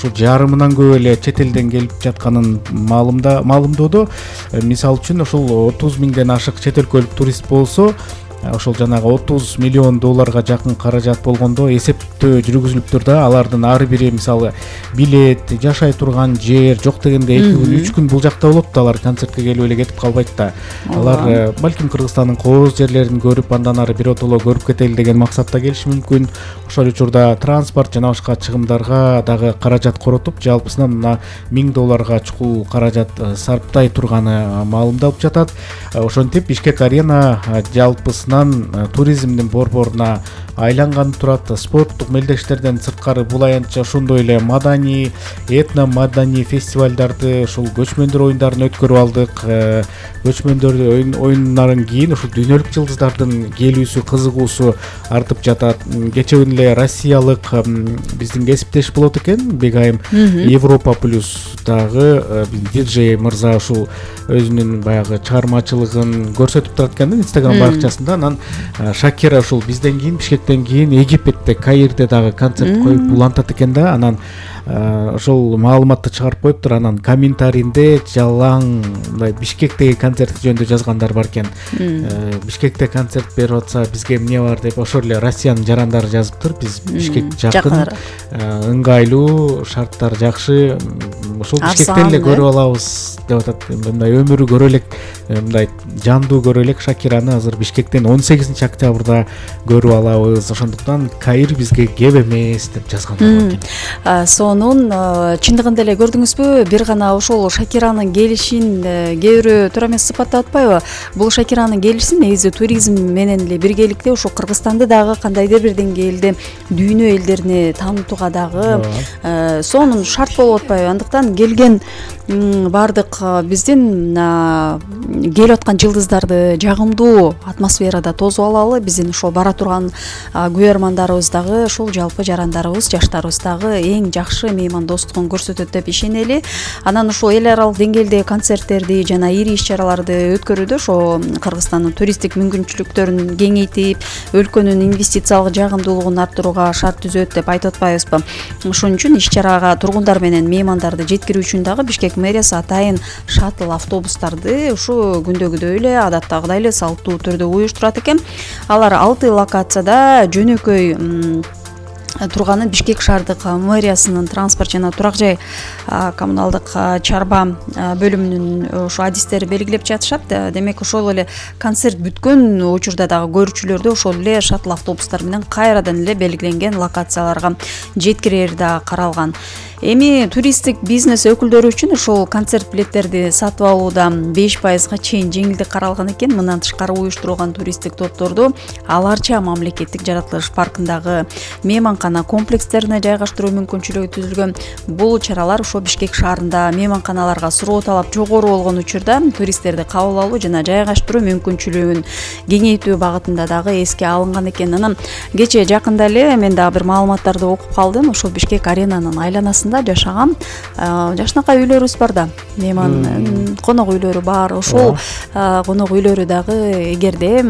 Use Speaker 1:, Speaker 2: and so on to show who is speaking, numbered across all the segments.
Speaker 1: ушул жарымынан көп эле чет элден келип жатканын маалымдоодо. Мисалы үчүн ушул 30 миңден ашык чет өлкөлүк турист болсо, ошол жанагы 30 миллион долларга жакын каражат болгондо эсептөө жүргүзүлүп тур да. Алардын ар бири мисалы билет, жашай турган жер жок дегенде 2 күн 3 күн бул жакта болот да, алар концертке келип эле кетип калбайт да. Алар балким Кыргызстандын кооз жерлерин көрүп, андан ары биротоло көрүп кетели деген максатта келиши мүмкүн. Ошол учурда транспорт жана башка чыгымдарга дагы каражат коротуп, жалпысынан мына $1000 чукул каражат сарптай турганы маалымдалып жатат. Ошентип Бишкек арена жалпысынан туризмдин борборуна айланган турат. Спорттук мелдештерден сырткары бул аянтча ошондой эле маданий, этно маданий фестивалдарды, ушул көчмөндөр оюндарын өткөрүп алдык. Көчмөндөр оюнунан кийин ушул дүйнөлүк жылдыздардын келүүсү, кызыгуусу артып жатат. Кечээ күнү эле россиялык биздин кесиптеш болот экен, Бегайым Европа плюс дагы диджей мырза ушул өзүнүн баягы чыгармачылыгын көрсөтүп турат экен Instagram баракчасында. Анан Шакира ушул бизден кийин, Бишкектен кийин Египетте, Каирде дагы концерт коюп улантат экен да. Анан ошол маалыматты чыгарып коюптур. Анан комментарийинде жалаң мындай Бишкектеги концерт жөнүндө жазгандар бар экен. Бишкекте концерт берип атса бизге эмне бар деп ошол эле Россиянын жарандары жазыптыр. Биз Бишкек жакын, ыңгайлуу, шарттар жакшы, ошол Бишкектен эле көрүп алабыз деп атат. Мындай өмүрү көрө элек, мындай жандуу көрө элек Шакираны азыр Бишкектен 18 октябрда көрүп алабыз. Ошондуктан Каир бизге кеп эмес деп жазгандар бар экен.
Speaker 2: Сонун чындыгында эле көрдүңүзбү, бир гана ошол Шакиранын келишин кээ бирөө туура эмес сыпаттап атпайбы? Бул Шакиранын келиши негизи туризм менен эле биргеликте ошо Кыргызстанды дагы кандайдыр бир деңгээлде дүйнө элдерине таанытууга дагы сонун шарт болуп атпайбы? Андыктан келген баардык биздин келип аткан жылдыздарды жагымдуу атмосферада тосуп алалы. Биздин ошол бара турган күбөрмандарыбыз дагы, ошол жалпы жарандарыбыз, жаштарыбыз дагы эң жакшы меймандостугун көрсөтөт деп ишенели. Анан ошол эл аралык деңгээлде концерттерди жана ири иш-чараларды өткөрүүдө ошо Кыргызстандын туристтик мүмкүнчүлүктөрүн кеңейтип, өлкөнүн инвестициялык жагымдуулугун арттырууга шарт түзөт деп айтып атпайбызбы? Ошон үчүн иш-чарага тургундар менен меймандарды жеткирүү үчүн дагы Бишкек мэриясы атайын шаттл автобустарды ушу күндөгүдөй эле, адаттагыдай эле салттуу түрдө уюштурат экен. Алар 6 локацияда жөнөкөй турганын Бишкек шаардык мэриясынын транспорт жана турак жай коммуналдык чарба бөлүмүнүн ошо адистери белгилеп жатышат. Демек ошол эле концерт бүткөн учурда дагы көрүүчүлөрдү ошол эле шаттл автобустар менен кайрадан эле белгиленген локацияларга жеткирери да каралган. Эми туристтик бизнес өкүлдөрү үчүн ошол концерт билеттерди сатып алууда 5%га чейин жеңилдик каралган экен. Мындан тышкары уюштурулган туристтик топторду аларча мамлекеттик жаратылыш паркындагы мейманкана комплекстерине жайгаштыруу мүмкүнчүлүгү түзүлгөн. Бул чаралар ошо Бишкек шаарында мейманканаларга суроо талап жогору болгон учурда туристтерди кабыл алуу жана жайгаштыруу мүмкүнчүлүгүн кеңейтүү багытында дагы эске алынган экен. Анан кечээ жакында эле мен дагы бир маалыматтарды окуп калдым. Ошо Бишкек аренанын айланасында жашаган жашынакай үйлөрүбүз бар да, мейман конок үйлөрү бар. Ошол конок үйлөрү дагы эгерде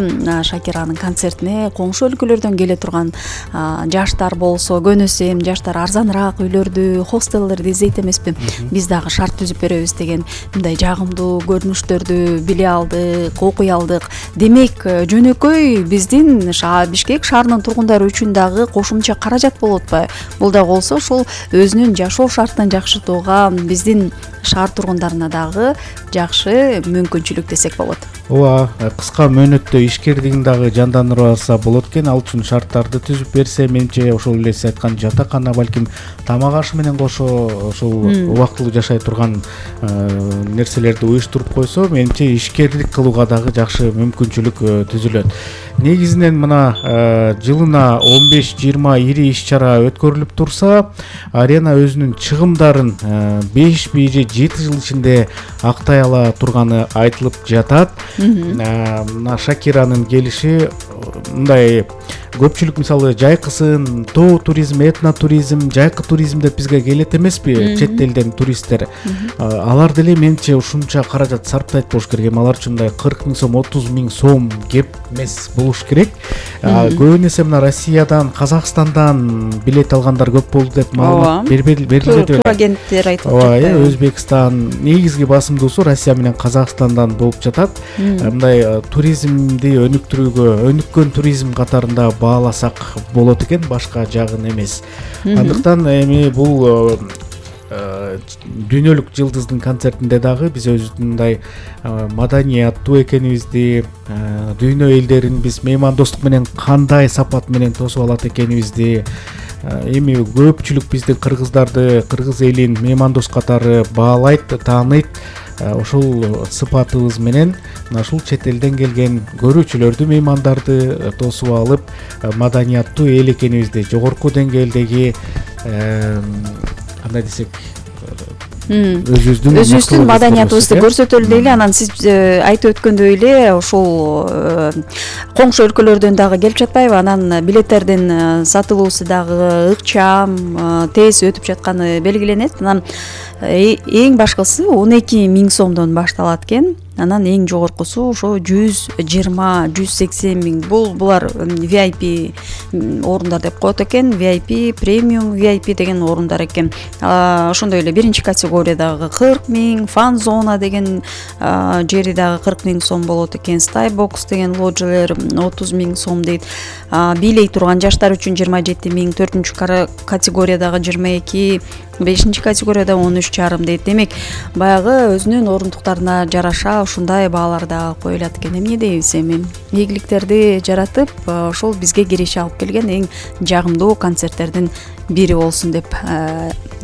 Speaker 2: Шакиранын концертине коңшу өлкөлөрдөн келе турган жаштар болсо, көнөсү эми жаштар арзаныраак үйлөрдү, хостелдерди издейт эмеспи? Биз дагы шарт түзүп беребиз деген мындай жагымдуу көрүнүштөрдү биле алдык, окуй алдык. Демек жөнөкөй биздин Бишкек шаарынын тургундары үчүн дагы кошумча каражат болуп атпайбы? Бул да болсо ошол өзүнүн жашоо шартын жакшыртууга биздин шаар тургундарына дагы жакшы мүмкүнчүлүк десек болот.
Speaker 1: Ооба, кыска мөөнөттө ишкердигин дагы жандандырып алса болот экен. Ал үчүн шарттарды түзүп берсе, менимче ошол эле сиз айткан жатакана, балким тамак аш менен кошо ошол убактылуу жашай турган нерселерди уюштуруп койсо, менимче ишкерлик кылууга дагы жакшы мүмкүнчүлүк түзүлөт. Негизинен мына жылына 15-20 ири иш-чара өткөрүлүп турса, арена өзүнүн чыгымдарын 5-7 жыл ичинде актай ала турганы айтылып жатат. Мына Шакиранын келиши мындай көпчүлүк мисалы жайкысын тоо туризм, этнотуризм, жайкы туризм деп бизге келет эмеспи чет элден туристтер. Алар деле менимче ушунча каражат сарптайт болуш керек. Алар үчүн мындай 40 000 сом, 30 000 сом кеп эмес болуш керек. Көбүн эсе мына Россиядан, Казакстандан билет алгандар көп болду деп маалымат берилди.
Speaker 2: Турагенттер айтып
Speaker 1: жатты. Өзбекстан негизги басымдуусу Россия менен Казакстандан болуп жатат. Мындай туризмди өнүккөн туризм катарында бааласак болот экен, башка жагын эмес. Андыктан эми бул дүйнөлүк жылдыздын концертинде дагы биз өзүбүздүн мындай маданияттуу экенибизди, дүйнө элдерин биз меймандостук менен кандай сапат менен тосуп алат экенибизди, эми көпчүлүк биздин кыргыздарды, кыргыз элин меймандос катары баалайт, тааныйт. Ошол сыпатыбыз менен мына ушул чет элден келген көрүүчүлөрдү, меймандарды тосуп алып, маданияттуу эл экенибизди, жогорку деңгээлдеги кандай десек, өзүбүздүн маданиятыбызды көрсөтөлү дейли. Анан сиз айтып өткөндөй эле ошол коңшу өлкөлөрдөн дагы келип жатпайбы? Анан билеттердин сатылуусу дагы ыкчам, тез өтүп жатканы белгиленет. Анан эң башкысы 12 000 сомдон башталат экен. Анан эң жогоркусу ошо 120-180 000. Булар VIP орундар деп коет экен. VIP, премиум VIP деген орундар экен. Ошондой эле биринчи категориядагы 40 000, фан зона деген жери дагы 40 000 сом болот экен. Skybox деген ложелер 30 000 сом дейт. Бийлей турган жаштар үчүн 27 000, 4-чү категориядагы 22, 5-чи категорияда 13,5 дейт. Демек, баягы өзүнүн орундуктарына жараша ушундай баалар да коюлат экен. Эмне дейбиз эми? Ийгиликтерди жаратып, ошол бизге киреше алып келген эң жагымдуу концерттердин бири болсун деп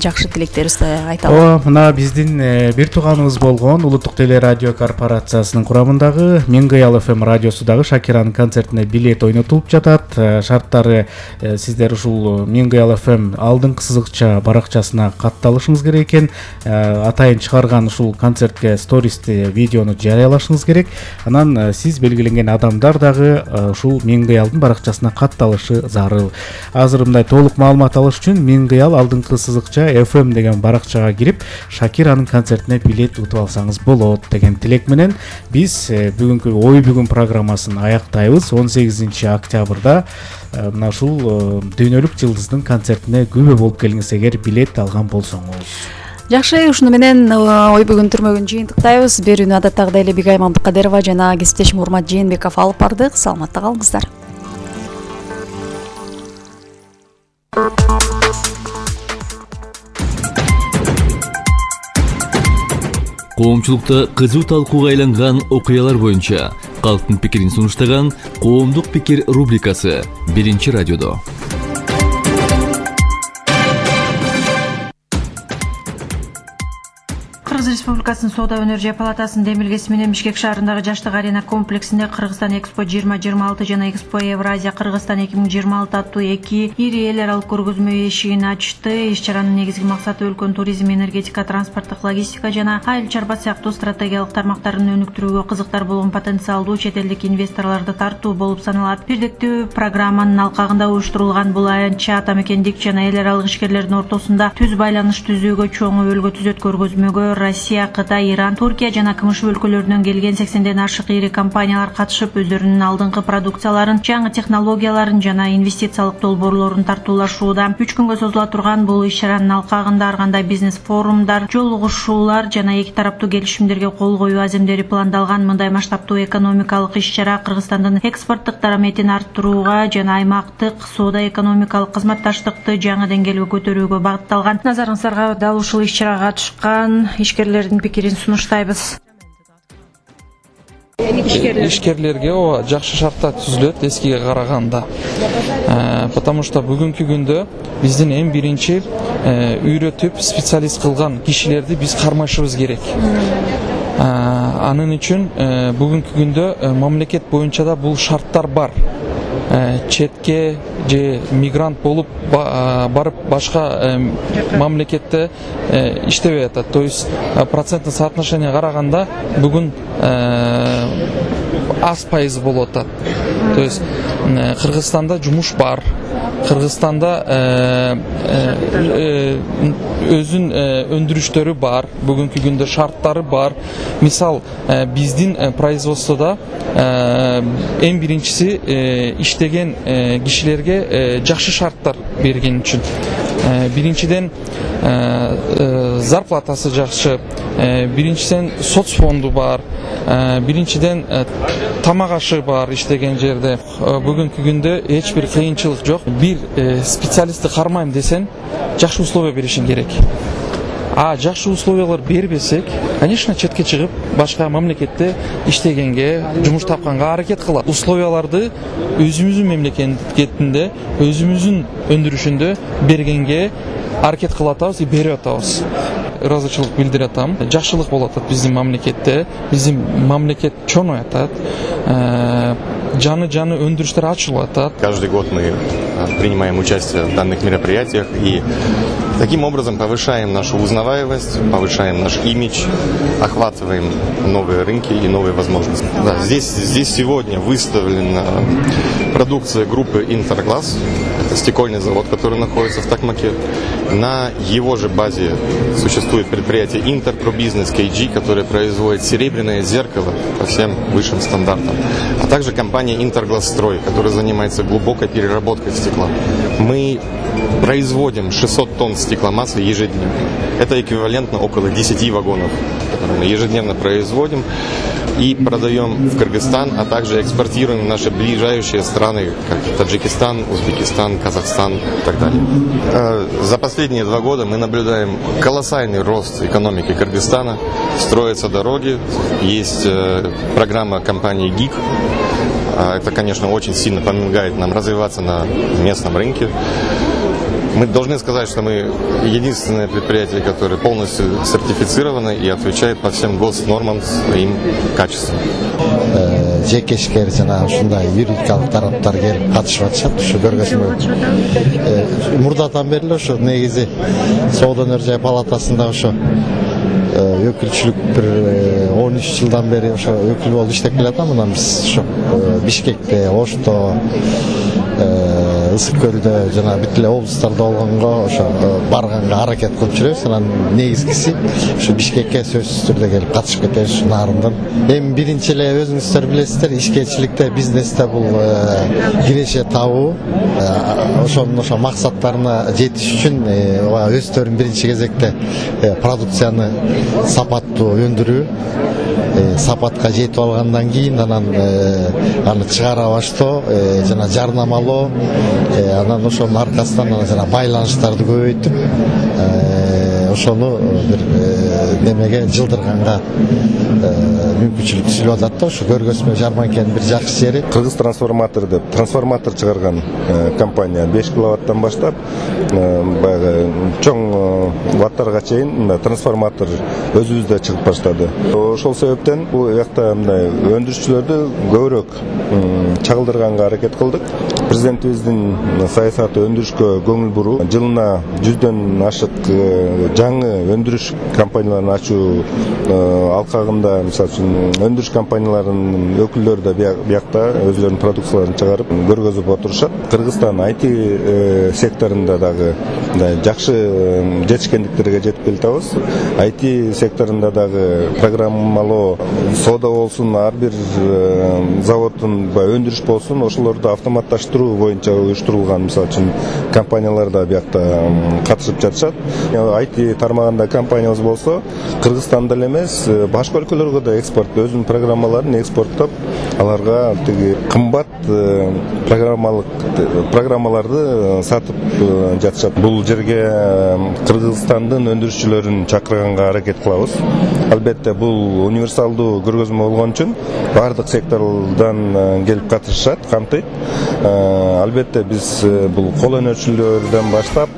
Speaker 1: жакшы тилектерибизди айталы. Мына биздин бир тууганыбыз болгон Улуттук теле радио корпорациясынын курамындагы Миңгыял FM радиосу дагы Шакиранын концертине билет ойнотулуп жатат. Шарттары сиздер ушул Миңгыял FM алдыңкы сызыкча баракчасына катталышыңыз керек экен. Атайын чыгарган ушул концертке стористи, видеону жарыялашыңыз керек. Анан сиз белгиленген адамдар дагы ушул Миңгыялдын баракчасына катталышы зарыл. Азыр мындай толук маалымат алыш үчүн Миңгыял алдыңкы сызыкча FM деген баракчага кирип, Шакиранын концертине билет утуп алсаңыз болот деген тилек менен биз бүгүнкү ой бүгүн программасын аяктайбыз. 18 октябрда мына ушул дүйнөлүк жылдыздын концертине күбө болуп келиңиз эгер билет алган болсоңуз. Жакшы, ушуну менен ой бүгүн түрмөгүн жыйынтыктайбыз. Берүүнү адаттагыдай эле Бигай Мамдыкадырова жана кесиптешим Урмат Жээнбеков алып бардык. Саламатта калыңыздар.
Speaker 3: Коомчулукта кызуу талкууга айланган окуялар боюнча калктын пикирин сунуштаган Коомдук пикир рубрикасы 1-радиодо.
Speaker 4: Кыргыз Республикасынын Соода өнөр палатасынын демилгеси менен Бишкек шаарындагы Жаштык арена комплексинде Кыргызстан Экспо 2026 жана Экспо Евразия Кыргызстан 2026 аттуу 2 ири эл аралык көргөзмө эшигин ачты. Иш-чаранын негизги максаты өлкөнүн туризм, энергетика, транспорттук, логистика жана айыл чарба сыяктуу стратегиялык тармактарын өнүктүрүүгө кызыктар болгон потенциалдуу чет элдик инвесторлорду тартуу болуп саналат. Бирдиктүү программанын алкагында уюштурулган бул аянтча ата мекендик жана эл аралык ишкерлердин ортосунда түз байланыш түзүүгө чоң өбөлгө түзөт. Көргөзмөгө Россия, Кытай, Иран, Туркия жана КМШ өлкөлөрүнөн келген 80ден ашык ири компаниялар катышып, өздөрүнүн алдыңкы продукцияларын, жаңы технологияларын жана инвестициялык долбоорлорун тартуулашууда. 3 күнгө созула турган бул иш-чаранын алкагында ар кандай бизнес форумдар, жолугушуулар жана эки тараптуу келишимдерге кол коюу аземдери пландалган. Мындай масштабтуу экономикалык иш-чара Кыргызстандын экспорттук дараметин арттырууга жана аймактык соода экономикалык кызматташтыкты жаңы деңгээлге көтөрүүгө багытталган. Назарыңыздарга дал ушул иш-чарага катышкан ишкерлердин пикирин сунуштайбыз.
Speaker 5: Ишкерлерге жакшы шарттар түзүлөт эскиге караганда. Потому что бүгүнкү күндө биздин эң биринчи үйрөтүп специалист кылган кишилерди биз кармашыбыз керек. Анын үчүн бүгүнкү күндө мамлекет боюнча да бул шарттар бар. Четке же мигрант болуп барып башка мамлекетте иштебей атат. То есть проценттик соотношение караганда бүгүн аз пайыз болуп атат. То есть Кыргызстанда жумуш бар, Кыргызстанда өзүн өндүрүштөрү бар, бүгүнкү күндө шарттары бар. Мисал, биздин производстводо эң биринчиси иштеген кишилерге жакшы шарттар берген үчүн. Биринчиден зарплатасы жакшы, биринчиден соцфонду бар, биринчиден тамак ашы бар иштеген жерде. Бүгүнкү күндө эч бир кыйынчылык жок. Бир специалистти кармайм десең, жакшы условия беришиң керек. Жакшы условиялар бербесек, конечно, четке чыгып, башка мамлекетте иштегенге, жумуш тапканга аракет кылат. Условияларды өзүбүздүн мамлекетинде, өзүбүздүн өндүрүшүндө бергенге аракет кылып атабыз, берип атабыз. Ыраазычылык билдире атам. Жакшылык болуп атат биздин мамлекетте. Биздин мамлекет чоңой атат. Жаны өндүрүштөр ачылып атат.
Speaker 6: Каждый год мы принимаем участие в данных мероприятиях и таким образом повышаем нашу узнаваемость, повышаем наш имидж, охватываем новые рынки и новые возможности. Да, здесь сегодня выставлена продукция группы Интерглаз. Это стекольный завод, который находится в Токмаке. На его же базе существует предприятие Интерпробизнес KG, которое производит серебряное зеркало по всем высшим стандартам. А также компания Интерглазстрой, которая занимается глубокой переработкой стекла. Мы производим 600 тонн стекломассы ежедневно. Это эквивалентно около 10 вагонов, которые мы ежедневно производим и продаем в Кыргызстан, а также экспортируем в наши ближайшие страны, как Таджикистан, Узбекистан, Казахстан и так далее. За последние 2 года мы наблюдаем колоссальный рост экономики Кыргызстана. Строятся дороги, есть программа компании ГИК. Это, конечно, очень сильно помогает нам развиваться на местном рынке. Мы должны сказать, что мы единственное предприятие, которое полностью сертифицировано и отвечает по всем госнормам своим качествам.
Speaker 7: Жекешкер жана ушундай юридикалык тараптар келип катышып атышат. Ушу көргөзмө мурдатан бери эле ошо негизи Соода өнөр-жай палатасында ошо өкүлчүлүк бир 13 жылдан бери ошо өкүл болуп иштеп келатам. Мындан биз ошо Бишкекте, Ошто, Ысык көлдө жана бүт эле облустарда болгонго ошо барганга аракет кылып жүрөбүз. Анан негизгиси ошо Бишкекке сөзсүз түрдө келип катышып кетебиз ушу нарындан. Эми биринчи эле өзүңүздөр билесиздер, ишкерчиликте, бизнесте бул киреше табуу. Ошонун максаттарына жетиш үчүн өздөрүн биринчи кезекте продукцияны сапаттуу өндүрүү, сапатка жетип алгандан кийин анан аны чыгара баштоо жана жарнамалоо, анан ошонун аркасынан жана байланыштарды көбөйтүп ошону бир немеге жылдырганга мүмкүнчүлүк түзүлүп атат да. Ошо көргөзмө жарманкенин бир жакшы жери.
Speaker 8: Кыргыз трансформатор деп трансформатор чыгарган компания 5 киловаттан баштап баягы чоң ваттарга чейин трансформатор өзүбүздө чыгып баштады. Ошол себептен бул жакта мындай өндүрүшчүлөрдү көбүрөөк чагылдырганга аракет кылдык. Президентибиздин саясаты өндүрүшкө көңүл буруу. Жылына 100дөн ашык жаңы өндүрүш компанияларын ачуу алкагында, мисалы үчүн өндүрүш компанияларынын өкүлдөрү да биякта өзлөрүнүн продукцияларын чыгарып көргөзүп отурушат. Кыргызстан IT секторунда дагы жакшы жетишкендиктерге жетип келатабыз. IT секторунда дагы программалоо, соода болсун, ар бир заводдун өндүрүш болсун, ошолорду автоматташтыруу боюнча уюштурулган, мисалы үчүн компаниялар да биякта катышып жатышат. IT тармагында компаниябыз болсо, Кыргызстанда эле эмес, башка өлкөлөргө да экспорт өзүнүн программаларын экспорттоп, аларга тиги кымбат программаларды сатып жатышат. Бул жерге Кыргызстандын өндүрүшчүлөрүн чакырганга аракет кылабыз. Албетте бул универсалдуу көргөзмө болгон үчүн бардык сектордан келип катышат, камтыйт. Албетте биз бул кол өнөрчүлөрдөн баштап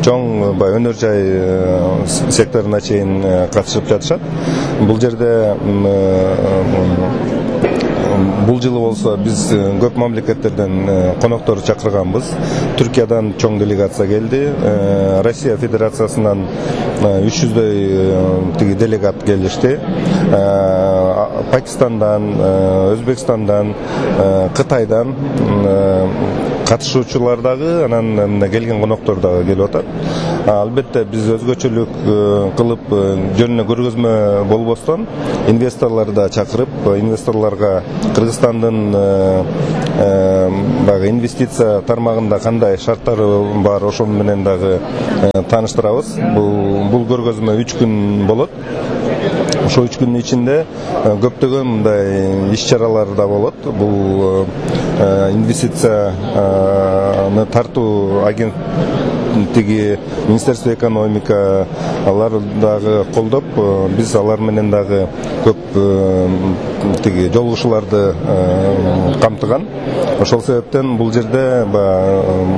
Speaker 8: чоң өнөр жай секторуна чейин катышып жатышат. Бул жерде бул жылы болсо биз көп мамлекеттерден коноктор чакырганбыз. Түркиядан чоң делегация келди. Россия Федерациясынан 300дөй делегат келишти. Пакистандан, Өзбекстандан, Кытайдан катышуучулар дагы, анан келген коноктор дагы келип атат. Албетте биз өзгөчөлүк кылып жөн эле көргөзмө болбостон инвесторлорду да чакырып, инвесторлорго Кыргызстандын баягы инвестиция тармагында кандай шарттары бар, ошол менен дагы тааныштырабыз. Бул көргөзмө 3 күн болот. Ошо 3 күндүн ичинде көптөгөн мындай иш-чаралар да болот. Бул инвестицияны тартуу агенттиги, Министерство экономика алар дагы колдоп, биз алар менен дагы көп жолугушууларды камтыган. Ошол себептен бул жерде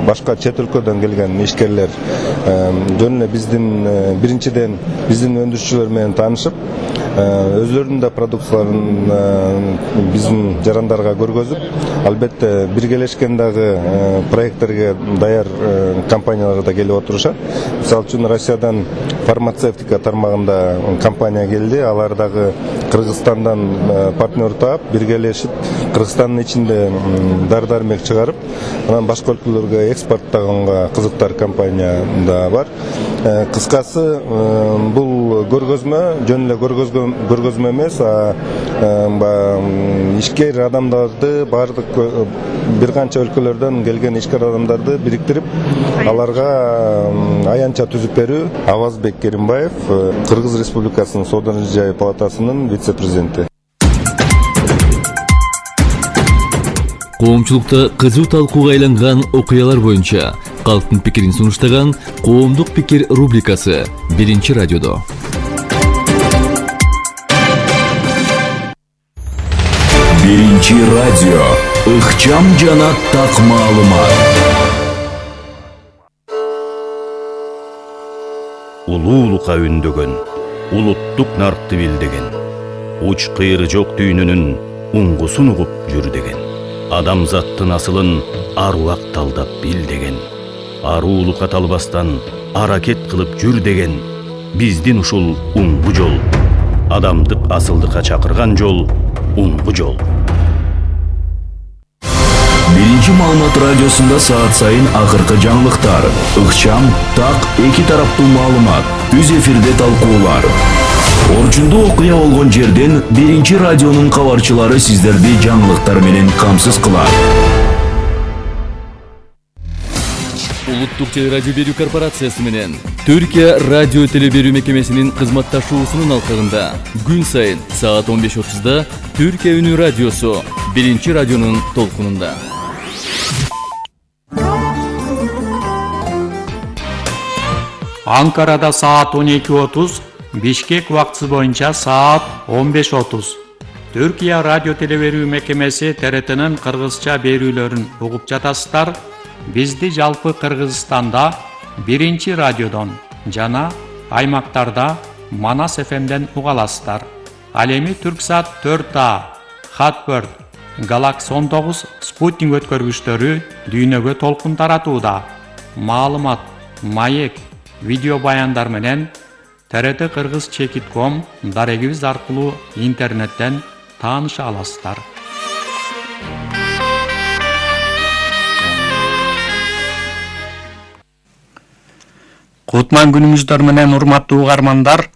Speaker 8: башка чет өлкөдөн келген ишкерлер жөн эле биздин биринчиден биздин өндүрүшчүлөр менен таанышып, өзлөрүнүн да продукцияларын биздин жарандарга көргөзүп, албетте биргелешкен дагы проекттерге даяр компаниялар да келип отурушат. Мисалы үчүн Россиядан фармацевтика тармагында компания келди. Алар дагы Кыргызстандан партнер таап, биргелешип Кыргызстандын ичинде дары-дармек чыгарып, анан башка өлкөлөргө экспорттаганга кызыктар компания да бар. Кыскасы, бул көргөзмө жөн эле көргөзмө эмес, ишкер адамдарды, бардык бир канча өлкөлөрдөн келген ишкер адамдарды бириктирип, аларга аянтча түзүп берүү. Авазбек Керимбаев, Кыргыз Республикасынын Соода жай палатасынын вице-президенти.
Speaker 3: Коомчулукта кызуу талкууга айланган окуялар боюнча калктын пикирин сунуштаган Коомдук пикир рубрикасы Биринчи радиодо.
Speaker 9: Биринчи радио. Ыкчам жана так маалымат.
Speaker 10: Улуулукка үндөгөн, улуттук наркты билдеген, уч кыйры жок дүйнөнүн уңгусун угуп жүр деген, адамзаттын асылын ар убак талдап бил деген, аруулукка талбастан аракет кылып жүр деген, биздин ушул уңгу жол, адамдык асылдыкка чакырган жол, уңгу жол.
Speaker 9: Биринчи маалымат радиосунда саат сайын акыркы жаңылыктар, ыкчам, так, эки тараптуу маалымат, үз эфирде талкуулар. Орчундуу окуя болгон жерден Биринчи радионун кабарчылары сиздерди жаңылыктар менен камсыз кылат.
Speaker 3: Улуттук телерадио берүү корпорациясы менен Түркия радио теле берүү мекемесинин кызматташуусунун алкагында күн сайын саат 15:30да Түркия үнү радиосу Биринчи радионун толкунунда.
Speaker 11: Анкарада саат 12:30, Бишкек убактысы боюнча саат 15:30. Түркия радио теле берүү мекемеси ТРТнын кыргызча берүүлөрүн угуп жатасыздар. Бизди жалпы Кыргызстанда Биринчи радиодон жана аймактарда Манас ФМден уга аласыздар. Ал эми Түрксат 4А, Хатберд, Галакс 19 спутник өткөргүчтөрү дүйнөгө толкун таратууда. Маалымат, маек, видео баяндар менен ТРТ Кыргыз Чекит.com дарегибиз аркылуу интернеттен тааныша аласыздар. Кутман күнүңүздөр менен урматтуу угармандар.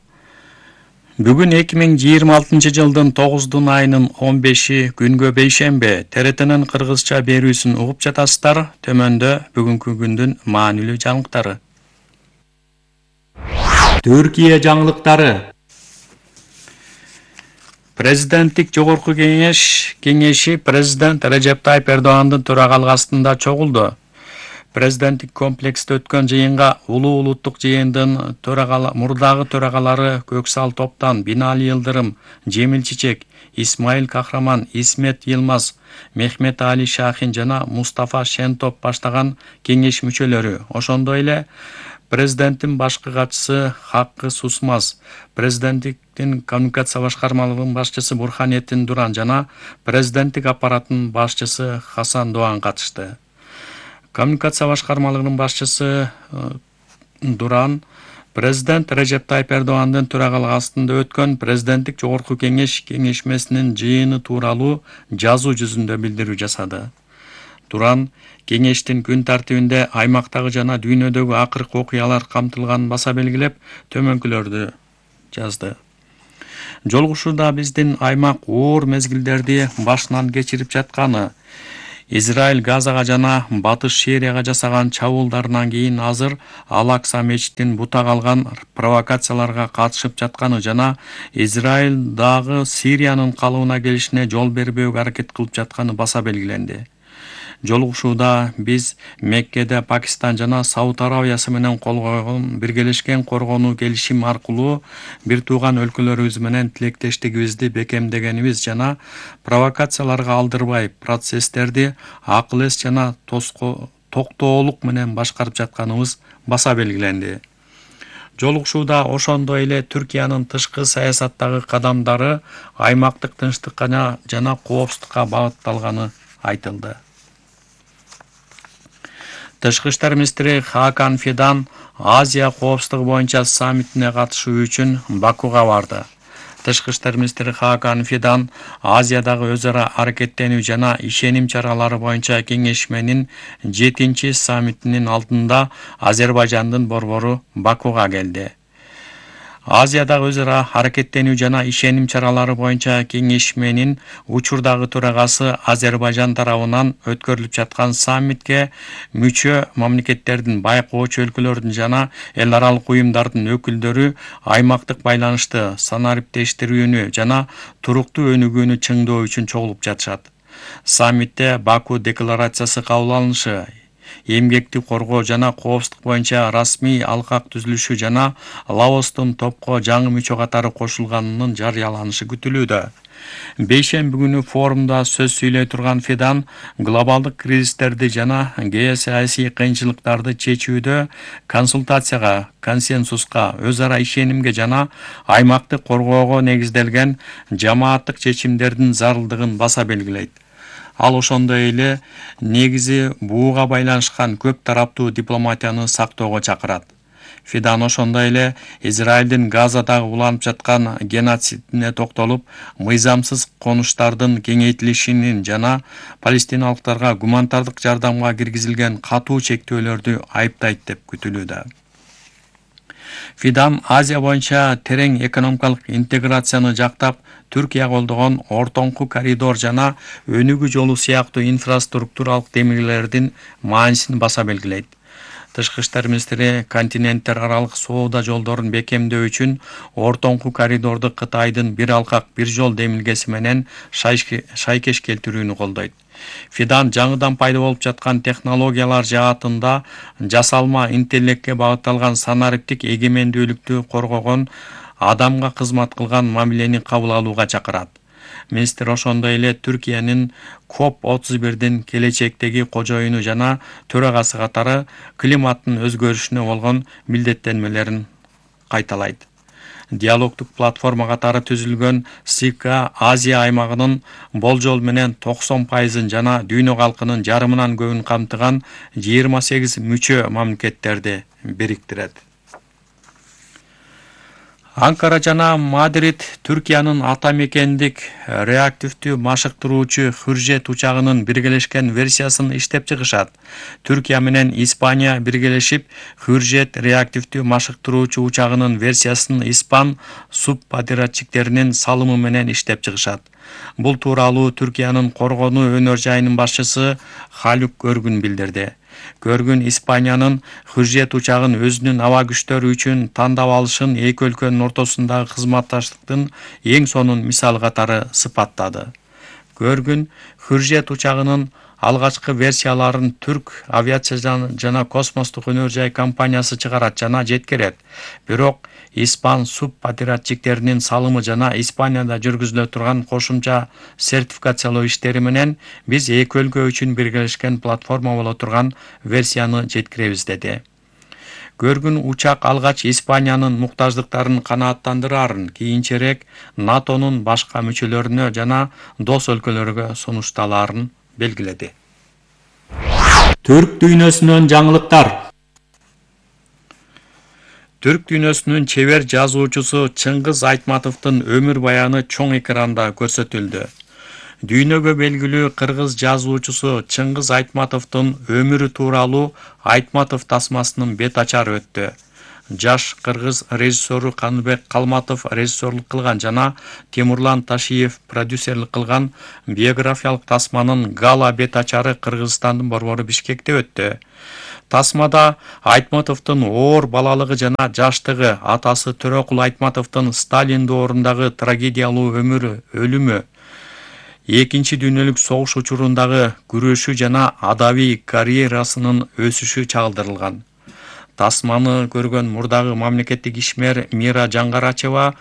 Speaker 11: Бүгүн 2026 жылдын 9 айынын 15 күнгө бейшембе ТРТнын кыргызча берүүсүн угуп жатасыздар. Төмөндө бүгүнкү күндүн маанилүү жаңылыктары. Түркия жаңылыктары. Президенттик жогорку кеңеши президент Режеп Тайип Эрдогандын төрагалык астында чогулду. Президенттик комплексте өткөн жыйынга улуттук жыйындын мурдагы төрагалары Көксал Топтан, Бинали Йылдырым, Жемил Чичек, Исмаил Кахраман, Исмет Йылмаз, Мехмет Али Шахин жана Мустафа Шентоп баштаган кеңеш мүчөлөрү, ошондой эле Президенттин башкы катчысы Хаккы Сусмаз, президенттиктин коммуникация башкармалыгынын башчысы Бурханеттин Дуран жана президенттик аппараттын башчысы Хасан Doğan катышты. Коммуникация башкармалыгынын башчысы Дуран президент Режеп Тайып Эрдогандын төрагалыгы астында өткөн президенттик жогорку кеңеш кеңешмесинин жыйыны тууралуу жазуу жүзүндө билдирүү жасады. Дуран кеңештин күн тартибинде аймактагы жана дүйнөдөгү акыркы окуялар камтылганын баса белгилеп, төмөнкүлөрдү жазды. Жолугушууда биздин аймак оор мезгилдерди башынан кечирип жатканы, Израиль Газага жана Батыш Сирияга жасаган чабуулдарынан кийин азыр Ал-Акса мечитин бутак алган провокацияларга катышып жатканы жана Израиль дагы Сириянын калыбына келишине жол бербөөгө аракет кылып жатканы баса белгиленди. Жолугушууда биз Меккеде Пакистан жана Сауд Арабиясы менен кол койгон биргелешкен коргонуу келишим аркылуу бир тууган өлкөлөрүбүз менен тилектештигибизди бекемдегенибиз жана провокацияларга алдырбай процесстерди акыл эс жана токтоолук менен башкарып жатканыбыз баса белгиленди. Жолугушууда ошондой эле Түркиянын тышкы саясаттагы кадамдары аймактык тынчтыкка жана коопсуздукка багытталганы айтылды. Тышкы иштер министри Хакан Фидан Азия коопсуздугу боюнча саммитине катышуу үчүн Бакуга барды. Тышкы иштер министри Хакан Фидан Азиядагы өз ара аракеттенүү жана ишеним чаралары боюнча кеңешменин 7-чи саммитинин алдында Азербайжандын борбору Бакуга келди. Азиядагы өз ара аракеттенүү жана ишеним чаралары боюнча кеңешменин учурдагы төрагасы Азербайжан тарабынан өткөрүлүп жаткан саммитке мүчө мамлекеттердин, байкоочу өлкөлөрдүн жана эл аралык уюмдардын өкүлдөрү аймактык байланышты санариптештирүүнү жана туруктуу өнүгүүнү чыңдоо үчүн чогулуп жатышат. Саммитте Баку декларациясы кабыл алынышы, эмгекти коргоо жана коопсуздук боюнча расмий алкак түзүлүшү жана Лаостун топко жаңы мүчө катары кошулганынын жарыяланышы күтүлүүдө. Бейшемби күнү форумда сөз сүйлөй турган Фидан глобалдык кризистерди жана геосаясий кыйынчылыктарды чечүүдө консультацияга, консенсуска, өз ара ишенимге жана аймактык коргоого негизделген жамааттык чечимдердин зарылдыгын баса белгилейт. Ал ошондой эле негизи бууга байланышкан көп тараптуу дипломатияны сактоого чакырат. Фидан ошондой эле Израилдин Газадагы уланып жаткан геноцидине токтолуп, мыйзамсыз конуштардын кеңейтилишинин жана палестиналыктарга гуманитардык жардамга киргизилген катуу чектөөлөрдү айыптайт деп күтүлүүдө. Фидан Азия боюнча терең экономикалык интеграцияны жактап, Түркия колдогон ортоңку коридор жана өнүгүү жолу сыяктуу инфраструктуралык демилгелердин маанисин баса белгилейт. Тышкы иштер министри континенттер аралык соода жолдорун бекемдөө үчүн ортоңку коридорду Кытайдын бир алкак бир жол демилгеси менен шайкеш келтирүүнү колдойт. Фидан жаңыдан пайда болуп жаткан технологиялар жаатында жасалма интеллектке багытталган санариптик эгемендүүлүктү коргогон, адамга кызмат кылган мамилени кабыл алууга чакырат. Министр ошондой эле Түркиянын COP31дин келечектеги кожоюну жана төрагасы катары климаттын өзгөрүшүнө болгон милдеттенмелерин кайталайт. Диалогдук платформа катары түзүлгөн СИКа Азия аймагынын болжол менен 90% жана дүйнө калкынын жарымынан көбүн камтыган 28 мүчө мамлекеттерди бириктирет. Анкара жана Мадрид Түркиянын ата мекендик реактивдүү машыктыруучу Хүржет учагынын биргелешкен версиясын иштеп чыгышат. Түркия менен Испания биргелешип Хүржет реактивдүү машыктыруучу учагынын версиясын Испан субподрядчиктеринин салымы менен иштеп чыгышат. Бул тууралуу Түркиянын коргонуу өнөр жайынын башчысы Халук Көргүн билдирди. Көргүн Испаниянын Хүржет учагын өзүнүн аба күчтөрү үчүн тандап алышын эки өлкөнүн ортосундагы кызматташтыктын эң сонун мисалы катары сыпаттады. Көргүн Хүржет учагынын алгачкы версияларын Түрк авиация жана космостук өнөр жай компаниясы чыгарат жана жеткирет. Бирок Испан субподрядчиктеринин салымы жана Испанияда жүргүзүлө турган кошумча сертификациялоо иштери менен биз эки өлкө үчүн биргелешкен платформа боло турган версияны жеткиребиз деди. Көргүн учак алгач Испаниянын муктаждыктарын канааттандырарын, кийинчерээк НАТОнун башка мүчөлөрүнө жана дос өлкөлөргө сунушталарын белгиледи. Түрк дүйнөсүнөн жаңылыктар. Түрк дүйнөсүнүн чебер жазуучусу Чыңгыз Айтматовдун өмүр баяны чоң экранда көрсөтүлдү. Дүйнөгө белгилүү кыргыз жазуучусу Чыңгыз Айтматовдун өмүрү тууралуу Айтматов тасмасынын бет ачары өттү. Жаш кыргыз режиссеру Каныбек Калматов режиссерлук кылган жана Темурлан Ташиев продюсерлик кылган биографиялык тасманын гала бет ачары Кыргызстандын борбору Бишкекте өттү. Тасмада Айтматовдун оор балалыгы жана жаштыгы, атасы Төрөкул Айтматовдун Сталин доорундагы трагедиялуу өлүмү, Экинчи дүйнөлүк согуш учурундагы күрөшү жана адабий карьерасынын өсүшү чагылдырылган. Тасманы көргөн мурдагы мамлекеттик ишмер Мира Жаңгарачева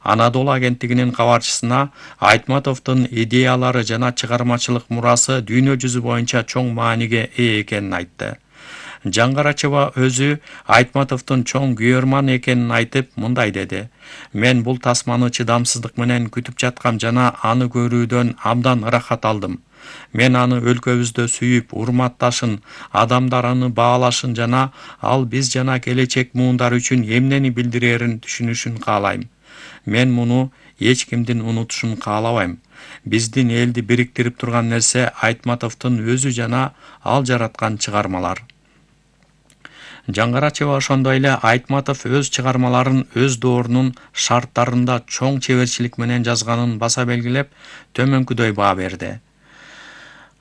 Speaker 11: Анадолу агенттигинин кабарчысына Айтматовдун идеялары жана чыгармачылык мурасы дүйнө жүзү боюнча чоң мааниге ээ экенин айтты. Жаңгарачева өзү Айтматовдун чоң күйөрман экенин айтып, мындай деди: "Мен бул тасманы чыдамсыздык менен күтүп жаткам жана аны көрүүдөн абдан ырахат алдым. Мен аны өлкөбүздө сүйүп, урматташын, адамдар аны баалашын жана ал биз жана келечек муундар үчүн эмнени билдирерин түшүнүшүн каалайм. Мен муну эч кимдин унутушун каалабайм. Биздин элди бириктирип турган нерсе Айтматовдун өзү жана ал жараткан чыгармалар." Жаңгарачева ошондой эле Айтматов өз чыгармаларын өз доорунун шарттарында чоң чеберчилик менен жазганын баса белгилеп, төмөнкүдөй баа берди.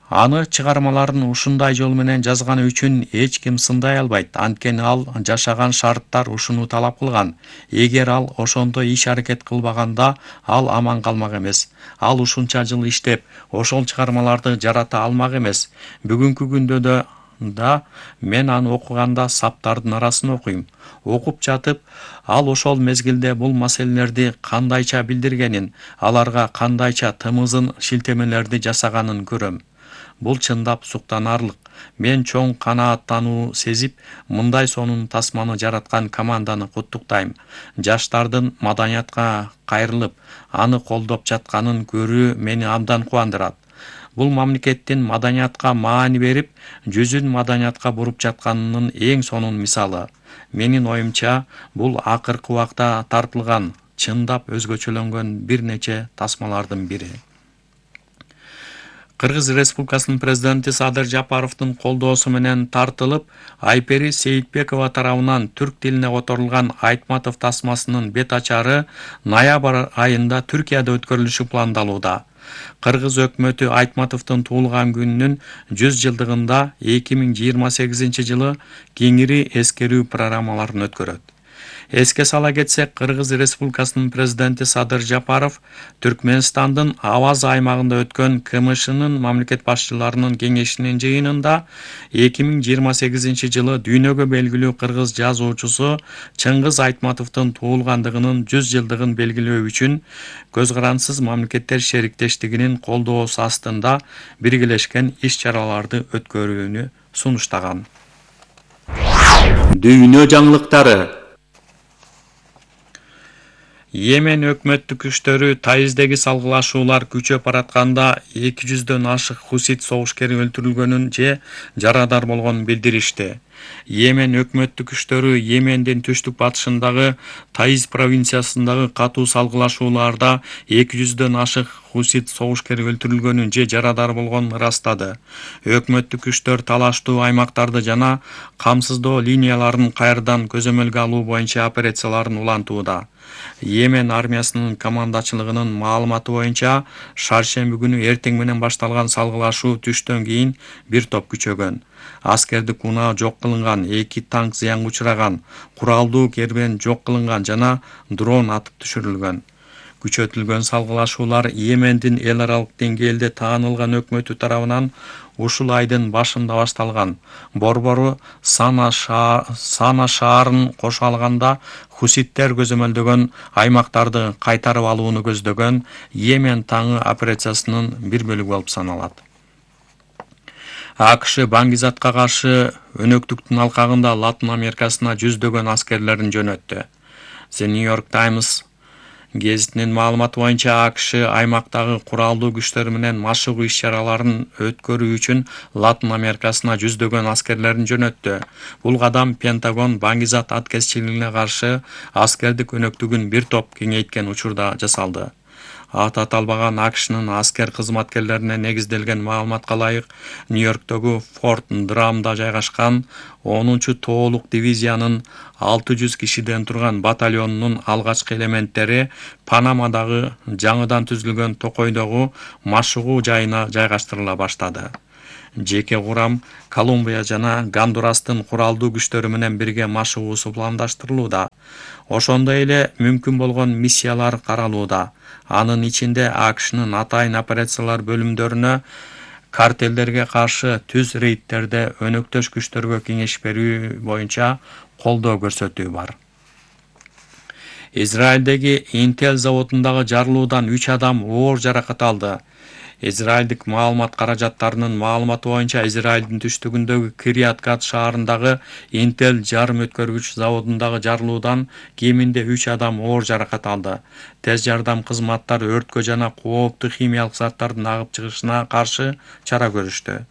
Speaker 11: Аны чыгармаларын ушундай жол менен жазганы үчүн эч ким сындай албайт, анткени ал жашаган шарттар ушуну талап кылган. Эгер ал ошондой иш-аракет кылбаганда, ал аман калмак эмес. Ал ушунча жыл иштеп, ошол чыгармаларды жарата алмак эмес. Бүгүнкү күндө да мен аны окуганда саптардын арасын окуйм. Окуп жатып, ал ошол мезгилде бул маселелерди кандайча билдиргенин, аларга кандайча тымызын шилтемелерди жасаганын көрөм. Бул чындап суктанарлык. Мен чоң канааттануу сезип, мындай сонун тасманы жараткан команданы куттуктайм. Жаштардын маданиятка кайрылып, аны колдоп жатканын көрүү мени абдан кубандырат. Бул мамлекеттин маданиятка маани берип, жүзүн маданиятка буруп жатканынын эң сонун мисалы. Менин оюмча, бул акыркы убакта тартылган, чындап өзгөчөлөнгөн бир нече тасмалардын бири. Кыргыз Республикасынын президенти Садыр Жапаровдун колдоосу менен тартылып, Айпери Сейитбекова тарабынан түрк тилине которулган Айтматов тасмасынын бет ачары ноябрь айында Түркияда өткөрүлүшү пландалууда. Кыргыз өкмөтү Айтматовдун туулган күнүнүн 100 жылдыгында 2028 жылы кеңири эскерүү программаларын өткөрөт. Эске сала кетсек, Кыргыз Республикасынын президенти Садыр Жапаров Түркмөнстандын Аваз аймагында өткөн КМШнын мамлекет башчыларынын кеңешинин жыйынында 2028 жылы дүйнөгө белгилүү кыргыз жазуучусу Чыңгыз Айтматовдун туулгандыгынын 100 жылдыгын белгилөө үчүн Көз карансыз мамлекеттер шериктештигинин колдоосу астында биргелешкен иш-чараларды өткөрүүнү сунуштаган. Дүйнө жаңылыктары. Йемен өкмөттүк күчтөрү Таиздеги салгылашуулар күчөп баратканда 200дөн ашык хусит согушкери өлтүрүлгөнүн же жарадар болгонун билдиришти. Йемен өкмөттүк күчтөрү Йемендин түштүк батышындагы Таиз провинциясындагы катуу салгылашууларда 200дөн ашык хусит согушкери өлтүрүлгөнүн же жарадар болгонун ырастады. Өкмөттүк күчтөр талаштуу аймактарды жана камсыздоо линияларын кайрадан көзөмөлгө алуу боюнча операцияларын улантууда. Йемен армиясынын командачылыгынын маалыматы боюнча, шаршемби күнү эртең менен башталган салгылашуу түштөн кийин бир топ күчөгөн. Аскердик унаа жок кылынган, 2 танк зыянга учураган, куралдуу кербен жок кылынган жана дрон атып түшүрүлгөн. Күчөтүлгөн салгылашуулар Йемендин эл аралык деңгээлде таанылган өкмөтү тарабынан ушул айдын башында башталган. Борбору Сана шаарын кошо алганда хуситтер көзөмөлдөгөн аймактарды кайтарып алууну көздөгөн Йемен таңы операциясынын бир бөлүгү болуп саналат. АКШ Баңгизатка каршы өнөктүктүн алкагында Латын Америкасына жүздөгөн аскерлерин жөнөттү. The New York Times гезитинин маалыматы боюнча АКШ аймактагы куралдуу күчтөр менен машыгуу иш-чараларын өткөрүү үчүн Латын Америкасына жүздөгөн аскерлерин жөнөттү. Бул кадам Пентагон Баңгизат аткезчилигине каршы аскердик өнөктүгүн бир топ кеңейткен учурда жасалды. Аты аталбаган АКШнын аскер кызматкерлерине негизделген маалыматка ылайык, Нью-Йорктогу Форт Драмда жайгашкан 10-чу тоолук дивизиянын 600 кишиден турган батальонунун алгачкы элементтери Панамадагы жаңыдан түзүлгөн токойдогу машыгуу жайына жайгаштырыла баштады. Жеке курам Колумбия жана Гондурастын куралдуу күчтөрү менен бирге машыгуусу пландаштырылууда. Ошондой эле мүмкүн болгон миссиялар каралууда. Анын ичинде АКШнын атайын операциялар бөлүмдөрүнө картелдерге каршы түз рейдтерде өнөктөш күчтөргө кеңеш берүү боюнча колдоо көрсөтүү бар. Израилдеги Intel заводундагы жарылуудан 3 адам оор жаракат алды. Израилдик маалымат каражаттарынын маалыматы боюнча Израилдин түштүгүндөгү Кирият Гат шаарындагы Intel жарым өткөргүч заводундагы жарылуудан кеминде 3 адам оор жаракат алды. Тез жардам кызматтары өрткө жана кооптуу химиялык заттардын агып чыгышына каршы чара көрүштү.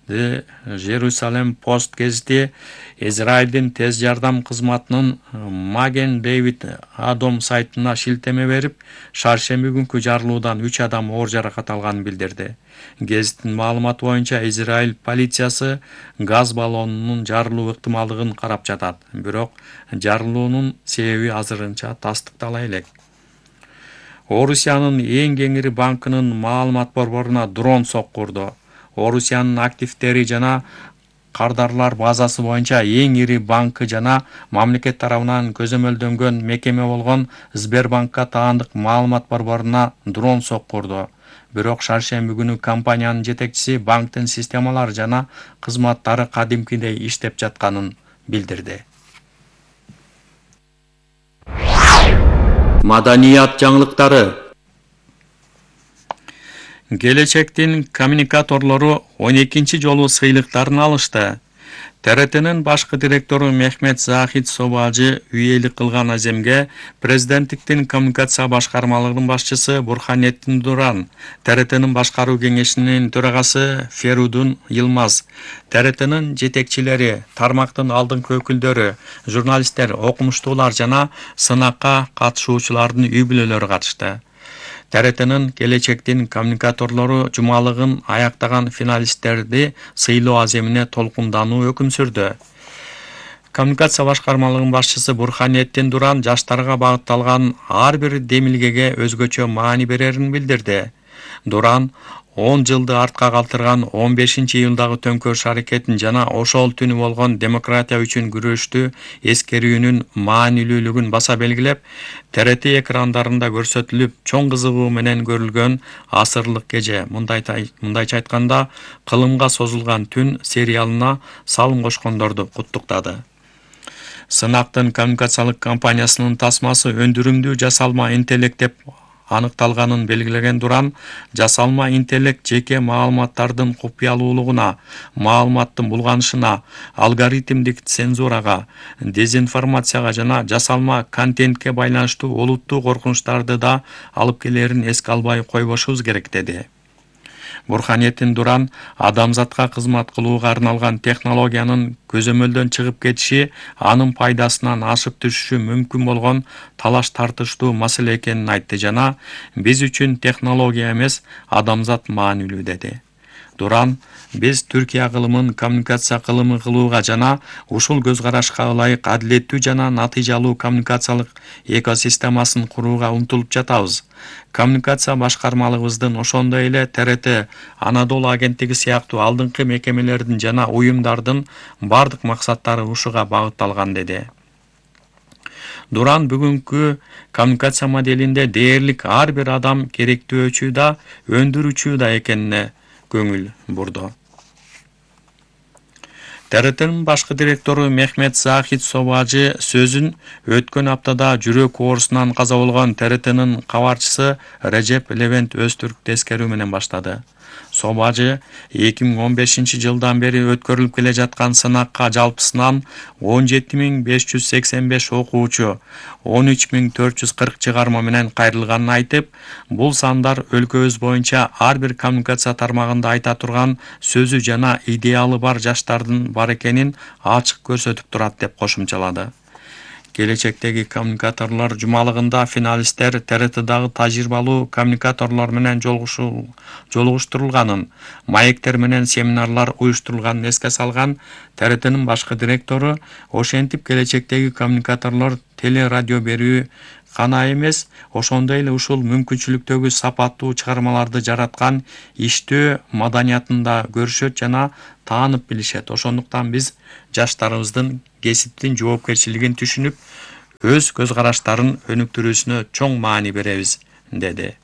Speaker 11: The Jerusalem Post гезити Израилдин тез жардам кызматынын Маген Дэвид Адом сайтына шилтеме берип, шаршемби күнкү жарылуудан 3 адам оор жаракат алганын билдирди. Гезиттин маалыматы боюнча Израиль полициясы газ баллонунун жарылуу ыктымалдыгын карап жатат, бирок жарылуунун себеби азырынча тастыктала элек. Орусиянын эң кеңири банкынын маалымат борборуна дрон соккурду. Орусиянын активдери жана кардарлар базасы боюнча эң ири банкы жана мамлекет тарабынан көзөмөлдөнгөн мекеме болгон Сбербанкка таандык маалымат борборуна дрон соккурду. Бирок шаршемби күнү компаниянын жетекчиси банктын системалары жана кызматтары кадимкидей иштеп жатканын билдирди. Маданият жаңылыктары. Келечектин коммуникаторлору 12-чи жолу сыйлыктарын алышты. ТРТнын башкы директору Мехмет Захид Собажы үйелик кылган аземге президенттиктин коммуникация башкармалыгынын башчысы Бурханеттин Дуран, ТРТнын башкаруу кеңешинин төрагасы Ферудун Йылмаз, ТРТнын жетекчилери, тармактын алдыңкы өкүлдөрү, журналисттер, окумуштуулар жана сынакка катышуучулардын үй бүлөлөрү катышты. ТРТнын келечектин коммуникаторлору жумалыгын аяктаган финалисттерди сыйлоо аземине толкундануу өкүм сүрдү. Коммуникация башкармалыгынын башчысы Бурханеттин Дуран жаштарга багытталган ар бир демилгеге өзгөчө маани берерин билдирди. Дуран 10 жылды артка калтырган 15-июлдагы төңкөрүш аракетин жана ошол түнү болгон демократия үчүн күрөштү эскерүүнүн маанилүүлүгүн баса белгилеп, ТРТ экрандарында көрсөтүлүп, чоң кызыгуу менен көрүлгөн асырлык кеже, мындайча айтканда, кылымга созулган түн сериалына салым кошкондорду куттуктады. Сынактын коммуникациялык компаниясынын тасмасы өндүрүмдүү жасалма интеллект деп аныкталганын белгилеген Дуран, жасалма интеллект жеке маалыматтардын купуялуулугуна, маалыматтын булганышына, алгоритмдик цензурага, дезинформацияга жана жасалма контентке байланыштуу олуттуу коркунучтарды да алып келерин эске албай койбошубуз керек деди. Бурханеттин Дуран адамзатка кызмат кылууга арналган технологиянын көзөмөлдөн чыгып кетиши анын пайдасынан ашып түшүшү мүмкүн болгон талаш тартыштуу маселе экенин айтты жана биз үчүн технология эмес, адамзат маанилүү деди. Дуран, биз Түркия кылымын коммуникация кылымы кылууга жана ушул көз карашка ылайык адилеттүү жана натыйжалуу коммуникациялык экосистемасын курууга умтулуп жатабыз. Коммуникация башкармалыгыбыздын ошондой эле ТРТ, Анадолу агенттиги сыяктуу алдыңкы мекемелердин жана уюмдардын бардык максаттары ушуга багытталган деди. Дуран бүгүнкү коммуникация моделинде дээрлик ар бир адам керектөөчү да, өндүрүүчү да экенине көңүл бурду. ТРТнын башкы директору Мехмет Захид Собажы сөзүн өткөн аптада жүрөк оорусунан каза болгон ТРТнын кабарчысы Режеп Левент Өзтүрк эскерүү менен баштады. Собажы 2015-жылдан бери өткөрүлүп келе жаткан сынакка жалпысынан 17.585 окуучу, 13.440 чыгарма менен кайрылганын айтып, бул сандар өлкөбүз боюнча ар бир коммуникация тармагында айта турган сөзү жана идеалы бар жаштардын бар экенин ачык көрсөтүп турат деп кошумчалады. Келечектеги коммуникаторлор жумалыгында финалисттер ТРТдагы тажрыйбалуу коммуникаторлор менен жолугуштурулганын, маектер менен семинарлар уюштурулганын эске салган ТРТнын башкы директору, ошентип келечектеги коммуникаторлор телерадио берүү гана эмес, ошондой эле ушул мүмкүнчүлүктөгү сапаттуу чыгармаларды жараткан иштөө маданиятын да көрүшөт жана таанып билишет. Ошондуктан биз жаштарыбыздын кесиптин жоопкерчилигин түшүнүп, өз көз караштарын өнүктүрүүсүнө чоң маани беребиз, деди.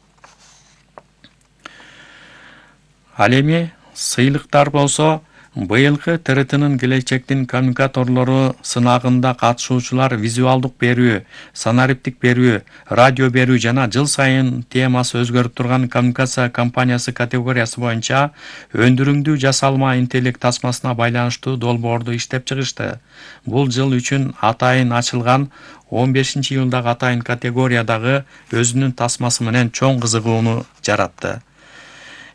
Speaker 11: Ал эми сыйлыктар болсо, быйылкы ТРТнын келечектин коммуникаторлору сынагында катышуучулар визуалдык берүү, санариптик берүү, радио берүү жана жыл сайын темасы өзгөрүп турган коммуникация компаниясы категориясы боюнча өндүрүңдүү жасалма интеллект тасмасына байланыштуу долбоорду иштеп чыгышты. Бул жыл үчүн атайын ачылган 15-июлдагы атайын категориядагы өзүнүн тасмасы менен чоң кызыгууну жаратты.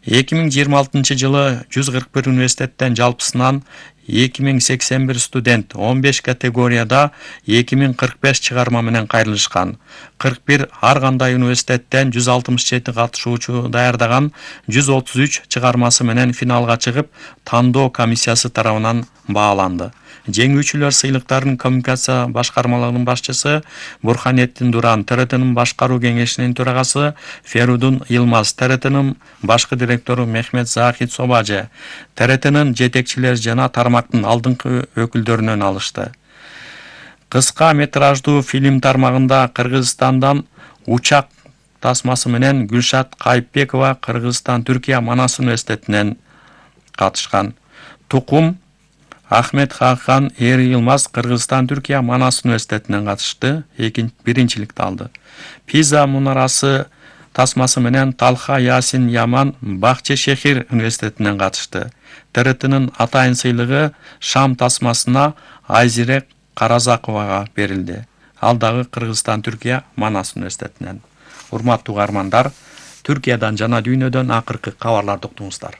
Speaker 11: 2026 жылы 141 университеттен жалпысынан 2081 студент 15 категорияда 2045 чыгарма менен кайрылышкан. 41 ар кандай университеттен 167 катышуучу даярдаган 133 чыгармасы менен финалга чыгып, тандоо комиссиясы тарабынан бааланды. Жеңүүчүлөр сыйлыктарын коммуникация башкармалыгынын башчысы Бурханеттин Дуран, ТРТнын башкаруу кеңешинин төрагасы Ферудун Йылмаз, ТРТнын башкы директору Мехмет Захит Собажы, ТРТнын жетекчилери жана тармактын алдыңкы өкүлдөрүнөн алышты. Кыска метраждуу фильм тармагында Кыргызстандан учак тасмасы менен Гүлшат Кайыпбекова Кыргызстан Түркия Манас университетинен катышкан. Тукум Ахмет Хахан Эр Йылмаз Кыргызстан Түркия Манас университетинен катышты, биринчиликти алды. Пиза мунарасы тасмасы менен Талха Ясин Яман Бакче Шехир университетинен катышты. ТРТнын атайын сыйлыгы Шам тасмасына Айзирек Каразаковага берилди. Ал дагы Кыргызстан Түркия Манас университетинен. Урматтуу угармандар, Түркиядан жана дүйнөдөн акыркы кабарларды уктуңуздар.